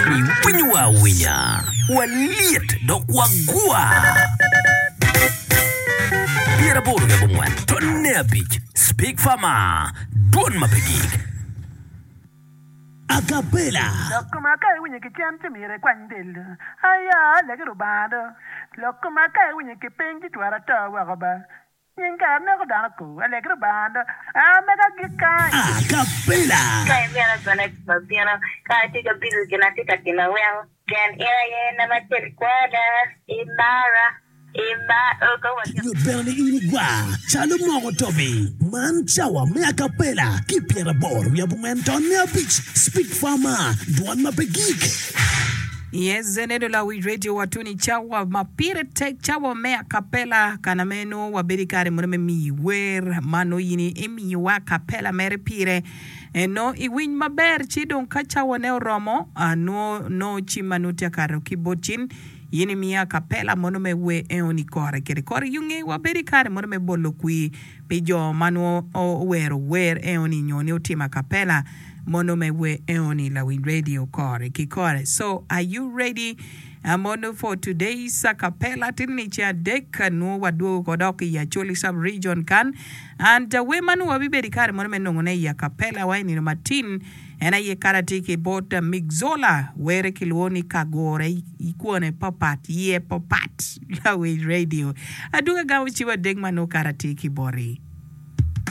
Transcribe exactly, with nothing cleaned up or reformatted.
Iwinyowa awinya, walyet dok wagwa. Pyeraboro ki abongwen tonne abic Speak Farmer, dwon ma pe gik. Acapella. Lok koma ka iwinyo ki cen ci myero ikwany del do. Aya, legi Rubanga do. Lok koma ka iwinyo ki piny ci twero ato woko ba. Nying kara neko dano ko. Alegi Rubanga do. A mega agik kany. Acapella. Ka imito bene wabino, ka atye ka bilo gin atye ka timo weko pien in aye namba acel i kwona, imara, imara ka watye. Nyut bene ni in igwar calo moko tobi. Man cawa me acapella ki pyeraboro wiye abongwen tonne abic Speak Farmer, dwon ma pe gik. Yes, Zenedo Lawic Radio watuni cawa ma pire tek cawa me acapella kana me nongo wabedo i kare mono me miyi wer ma nongo in imiyowa acapella mere pire nongo iwiny maber ci dong ka cawane oromo nongo nongo cim ma nongo tye ka kato ki bot cin in imiyo acapella mono me wer enoni kore kede kore yunge wabedo i kare mono me bolo kwir pi jo ma nongo owero wer enoni nyo ni otimo acapella mono me wer enoni Lawiny Radio kore ki kore. So are you ready mono for today's acapella? Tini ni ceng adek nongo wadwogo ko dok i Acholi sub region kan and wer ma nongo wabibedo i kare mono me nongone i acapella wa i nino matin en aye kara tye ki bot Migzola were kilwongo ni Kagure i kwone papat iye papat Lawiny Radio. Adwogo agamo cim adek ma nongo kara tye ki boti.